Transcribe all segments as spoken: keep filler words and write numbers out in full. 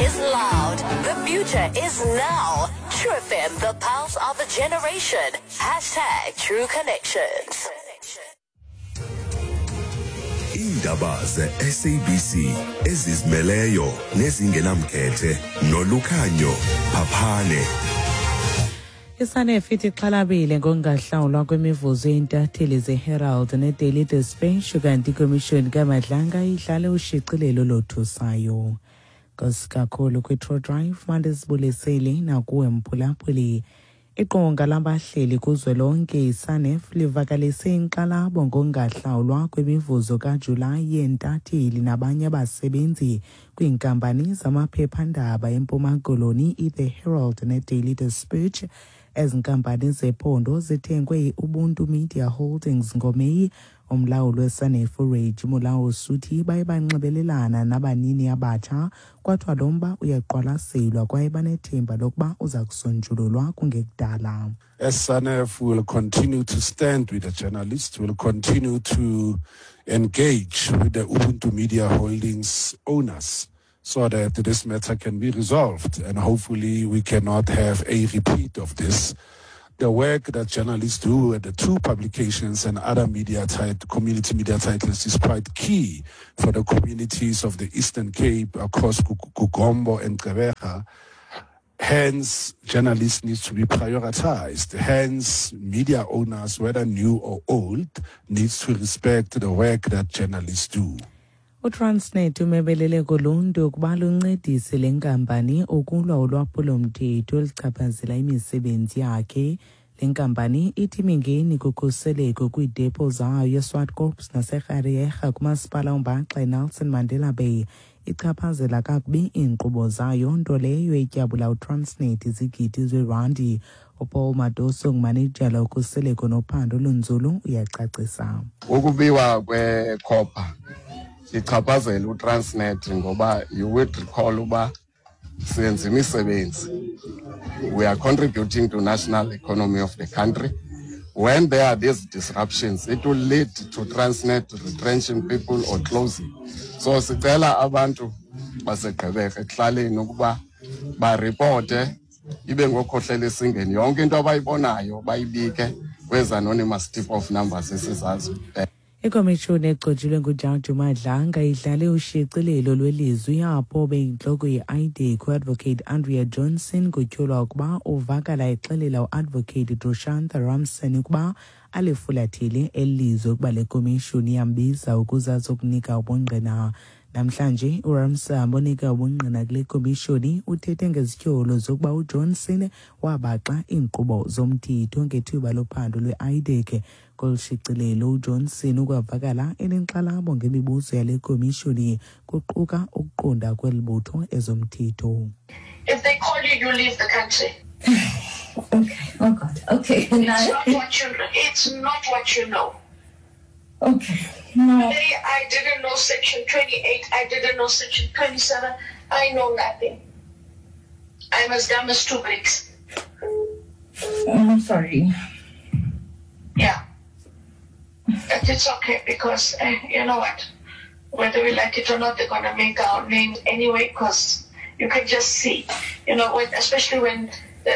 is loud. The future is now. True F M, the pulse of a generation. Hashtag True Connections. Iindaba ze-S A B C ezizimeleyo nezingenamkhethe noLukhanyo Phaphane. ISANEF ithi ixhalabile ngokungahlawulwa kwemivuzo yeentatheli zeHerald neDaily Dispatch, kanti ikomishoni kaMadlanga idlale ushicilelo lothusayo. Nkosi kakhulu kwi-True Drive, mandisibulisele nakuwe mphulaphuli. Iqonga labahleli kuzwelonke iSANEF livakalise inkxalabo ngokungahlawulwa kwemivuzo kaJulayi yeentatheli nabanye abasebenzi kwiinkampani zamaphephandaba eMpuma Koloni, i-The Herald neDaily Dispatch. Ezi nkampani zephondo zithengwe yi-Ubuntu Media Holdings ngoMeyi. Umlawuli weSANEF uReggie Molaosuthi baye banxibelelana nabanini abatsha, kwathiwa lo mba uyaqwalaselwa kwaye banethemba lokuba uza kusonjululwa kungekudala. As SANEF, will continue to stand with the journalists, will continue to engage with the Ubuntu Media Holdings owners so that this matter can be resolved. And hopefully we cannot have a repeat of this. The work that journalists do at the two publications and other media tit- community media titles is quite key for the communities of the Eastern Cape across KuGompo and Gqeberha. Hence, journalists need to be prioritized. Hence, media owners, whether new or old, needs to respect the work that journalists do. UTransnet umebelele kuluntu ukuba luncedise le nkampani ukulwa ulwaphulomthetho oluchaphazela imisebenzi yakhe. Le nkampani ithi imingeni kukhuseleko kwiidepo zayo eSwartkops naseKariega kumasipala ombaxa iNelson Mandela Bay ichaphazela kakubi iinkqubo zayo, nto leyo etyabula uTransnet izigidi zeerandi. UPaul Madoso ngumanejala wokhuseleko nophando olunzulu, uyacacisa. Ukubiwa kwe-copper ichaphazela uTransnet ngoba you would recall uba senza imisebenzi. We are contributing to national economy of the country. When there are these disruptions, it will lead to Transnet retrenching people or closing. So sicela abantu baseGqeberha ekuhlaleni ukuba baripote, ibe ngokhohlela esingeni yonke into abayibonayo, bayibike kwezi anonymous tip off numbers esizaziyo. Ikomishoni egcotshelwe nguJaji Madlanga idlale ushicilelo lwelizwi apho beyintloko ye-IDAC uAdvocate Andrea Johnson kutyholwa ukuba uvakala exelela uAdvocate Drushantha Ramson ukuba alifulathele eli lizwe ukuba le komishoni iyambiza ukuze azokunika ubungqina. Namhlanje uRamsam onika ubungqina kule komishoni uthethe ngezityholo zokuba uJohnson wabaxa iinkqubo zomthetho ngethuba lophando lwe-IDAC. Kolu shicilelo uJohnson ukwavakala enenkxalabo ngemibuzo yale komishoni, kuquka ukuqonda kweli butho ezomthetho. If they call you, you leave the country. Okay. Oh God. Okay. It's not what you. It's not what you know. Okay. No. Today, I didn't know Section twenty-eight. I didn't know Section twenty-seven. I know nothing. I'm as dumb as two bricks. I'm sorry. Yeah. But it's okay because uh, you know what? Whether we like it or not, they're gonna make our name anyway. Because you can just see, you know, when, especially when the,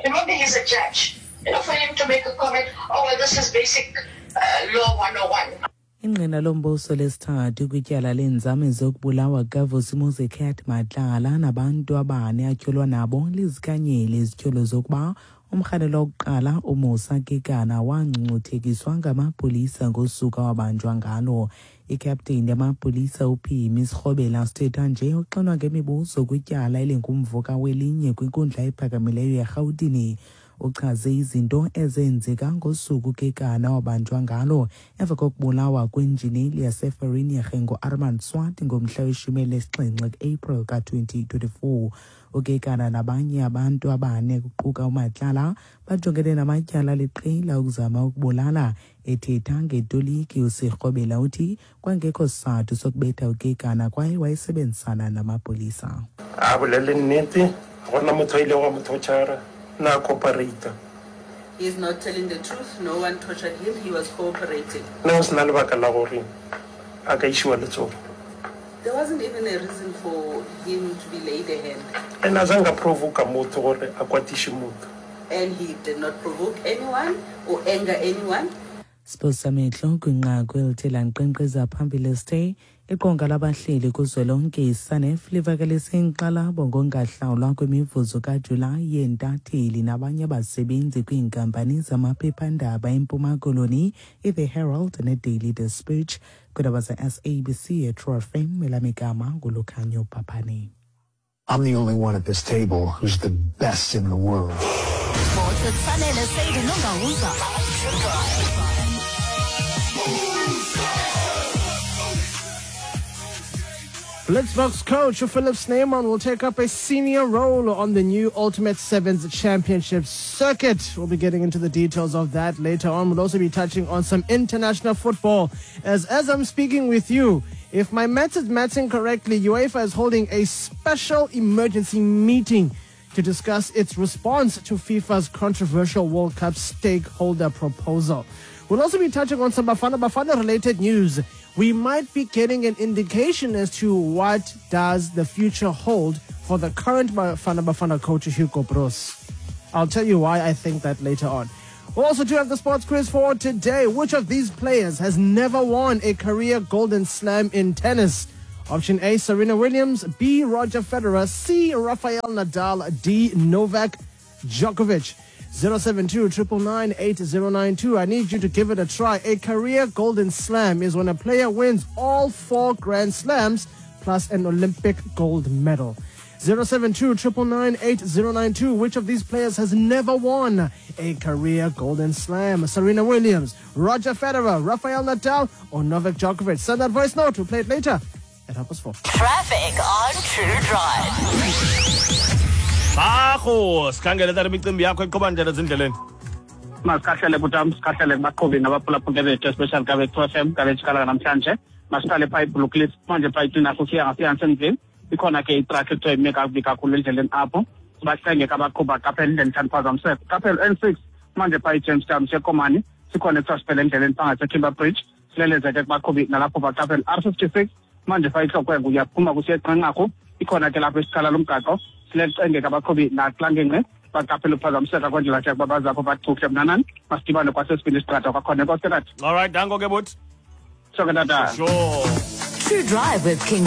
remember he's a judge. You know, for him to make a comment, "Oh well, this is basic uh, law one oh one" Ingqina lombuso lesithathu kwityala leenzame zokubulawa kukaVusimuzi Cat Matlala nabantu abane atyholwa nabo lizikhanyile izityholo zokuba umrhanelwa wokuqala uMusa Kekana wangcungcuthekiswa ngamapolisa ngosuku awabanjwa ngalo. Ikapteni yamapolisa uPhimi Sirhobela sithetha nje uxinwa ngemibuzo kwityala elingumvuka welinye kwinkundla ephakamileyo yeRhawutini. Uchaze izinto ezenzeka ngosuku Kekana wabanjwa ngalo emva kokubulawa kwenjineli yaseVereeniging nguArmand Swart ngomhla weshumi elinesixhenxe kuApril ka-twenty twenty-four. UKekana nabanye abantu abane kuquka uMatlala bajongene namatyala aliqela ukuzama ukubulala. Ethetha ngetoliki uSirhobela uthi kwangekho sizathu sokubetha uKekana kwaye wayesebenzisana namapolisa. A bolele nnete, ga gona motho a ilego a mo torture, na cooperate. He's not telling the truth. No one tortured him. He was cooperating. Ne go sena lebaka la gore a ka išiwa letsogo. There wasn't even a reason for him to be laid a hand. And azange aprovoka motho gore a kwatise motho. And he did not provoke anyone or anger anyone. Siphosisa kwinqaku elithe lankqenkqeza phambili sithe iqonga labahleli kuzwelonke iSANEF livakalise inkxalabo ngongahlawulwa kwemivuzo kaJulayi yeentatheli nabanye abasebenzi kwiinkampani zamaphephandaba eMpuma Koloni, i-The Herald ne-Daily Dispatch. Kwiindaba ze-S A B C eTrue F M, elam igama nguLukhanyo Paphane. I'm the only one at this table who's the best in the world. Sports with Sanele Saidi Nongawuza. True. Blitzboks coach Philip Snyman will take up a senior role on the new Ultimate Sevens Championship circuit. We'll be getting into the details of that later on. We'll also be touching on some international football. As, as I'm speaking with you, if my maths is matching correctly, UEFA is holding a special emergency meeting to discuss its response to FIFA's controversial World Cup stakeholder proposal. We'll also be touching on some Bafana Bafana related news. We might be getting an indication as to what does the future hold for the current Bafana Bafana coach, Hugo Broos. I'll tell you why I think that later on. We'll also do have the sports quiz for today. Which of these players has never won a career Golden Slam in tennis? Option A, Serena Williams. B, Roger Federer. C, Rafael Nadal. D, Novak Djokovic. zero seven two nine nine nine eight zero nine two. I need you to give it a try. A career Golden Slam is when a player wins all four Grand Slams plus an Olympic gold medal. zero seven two nine nine nine eight zero nine two. Which of these players has never won a career Golden Slam? Serena Williams, Roger Federer, Rafael Nadal, or Novak Djokovic? Send that voice note. We'll play it later at half past four. Traffic on True Drive. Bakho sikhangele tata imicimbi yakho iqhuba njani ezindleleni? Masikhahlele butam, sikhahlele kubaqhubi nabaphulaphula bethu, especially kabe two F M kabe jikala namhlanje. Masiqale phaa iBlue manje, phaa iTinarha usiya ngasiYansenville, ikhona ke itrakhi ekuthiwa ime kakubi kakhulu endleleni apho. Sibacenge ke abaqhubi baqaphela indlela ithanda uphazamiseka. Qaphela N six manje phaa iJamestown seKomani, sikhona ekuthiwa siphele endleleni phaa ngaseTimber Bridge. Sileleze ke kubaqhubi nalapho baqaphela. R fifty-six manje phaa iTlokweng uyaphuma kusiya eQanqarhu, ikhona ke lapho isikhala lomgaqo. Silecenge ke abaqhubi nakulaa ngingqi baqaphela uphazamiseka kwendlela ke ukuba bazapho bachuhle mnanani. Masidibane kwasesibini isiqatha kwakhona. Enkosi ke tata. All right, danko ke buti. Sho ke tata. Sure. True Drive with King